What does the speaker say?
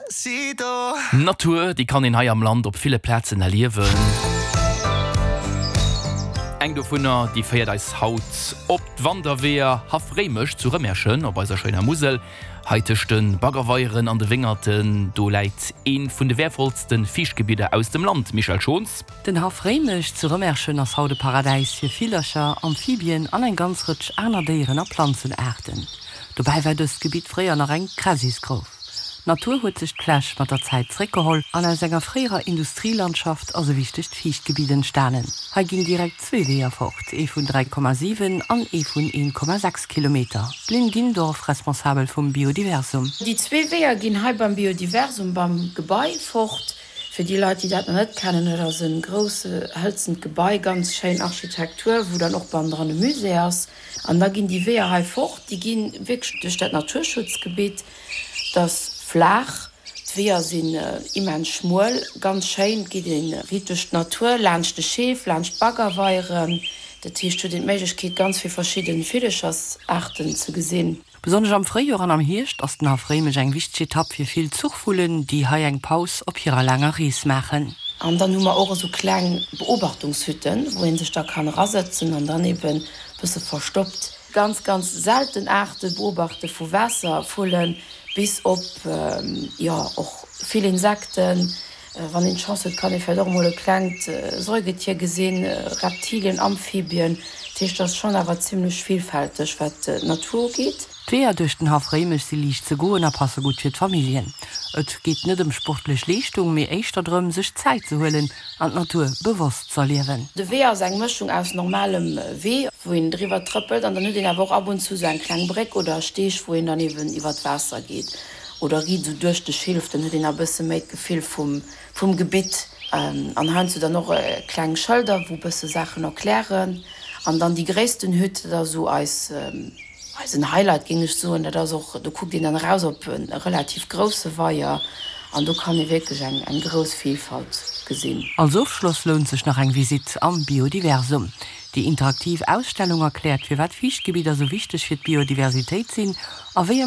Despacito. Natur, déi kann een hei am Land op ville Plazen erliewen. Eng dovunner, déi féiert eis haut op d'Wanderweeër Haff Réimech zu Rëmerschen op eiser schéiner Musel. Hei tëscht de Baggerweieren an de Wéngerten, do läit ee vun de wäervollste Fiichtgebidder aus dem Land, Michèle Schons. Den Haff Réimech zu Rëmerschen ass haut e Paradäis fir Villercher, Amphibien an eng ganz Rëtsch aner Déieren a Planzenaarten. Dobäi war dëst Gebitt fréier nach eng Kräsisgrouf. D'Natur huet sech d'Fläch mat der Zäit zréckgeholl an aus enger fréierer Industrielandschaft ass e wichtegt Fiichtgebitt entstanen. Hei ginn direkt zwee Weeër fort, ee vun 3,7 an ee vun 1,6 Kilometer. D'Lynn Gindorf, Responsabel vum Biodiversum. Déi zwee Weeër ginn hei beim Biodiversum beim Gebai fort. Fir déi Leit, déi dat nach net kennen, dat ass e grousse hëlzent Gebai, ganz schéin Architektur, wou dann och bannendran e Musée ass. An da ginn déi Weeër hei fort, déi gi wierklech duerch dat Naturschutzgebitt. Et ass flaach, d'Weeër sinn immens schmuel, ganz schéin. Et geet ee riit duerch d'Natur, laanscht de Scheef, laanscht d'Baggerweieren. Dat heescht, huet een d'Méiglechkeet, ganz vill verschidde Villechersaarten ze gesinn. Besonnesch am Fréijoer an am Hierscht ass den Haff Réimech eng wichteg Etapp fir vill Zuchvullen, déi hei eng Paus op hirer laanger Rees maachen. An dann hu mer och esou kleng Beobachtungshütten, wou ee sech da kann erasëtzen an dann eben e bësse verstoppt ganz, ganz selten Aarte beobachte vu Waasservullen bis op, jo, och vill Insekten. Wann een d'Chance huet, kann ee vläicht och emol e klengt Säugetier gesinn, Reptilien, Amphibien. Dat heescht, et ass schonn awer zimmlech villfälteg, wat d'Natur ugeet. D'Weeër duerch den Haff Réimech si liicht ze goen a passe gutt fir d'Familljen. Et geet net ëm sportlech Leeschtung, mee éischter drëm, sech Zäit ze huelen an d'Natur bewosst z'erliewen. De Wee ass eng Mëschung aus normalem Wee, wou een driwwer trëppelt, an dann huet een awer och ab und zu sou eng kleng Bréck oder e Steg, wou een dann eben iwwer d'Waasser geet oder riit esou duerch de Schilf. Dann huet een nach e bësse méi d'Gefill vum, vum Gebitt. An heiansdo dann och kleng Schëlder, wou bësse Saachen erklären. An dann déi gréissten Hütt, dat ass esou eis, eisen Highlight géing ech soen. Dat ass och, do kuckt een dann eraus op e relativ grousse Weier an do kann ee wierklech eng, eng grouss Vielfalt gesinn. Als Ofschloss lount sech nach eng Visitt am Biodiversum. Déi interaktiv Ausstellung erkläert, firwat Fiichtgebidder sou wichteg fir d'Biodiversitéit sinn a wéi.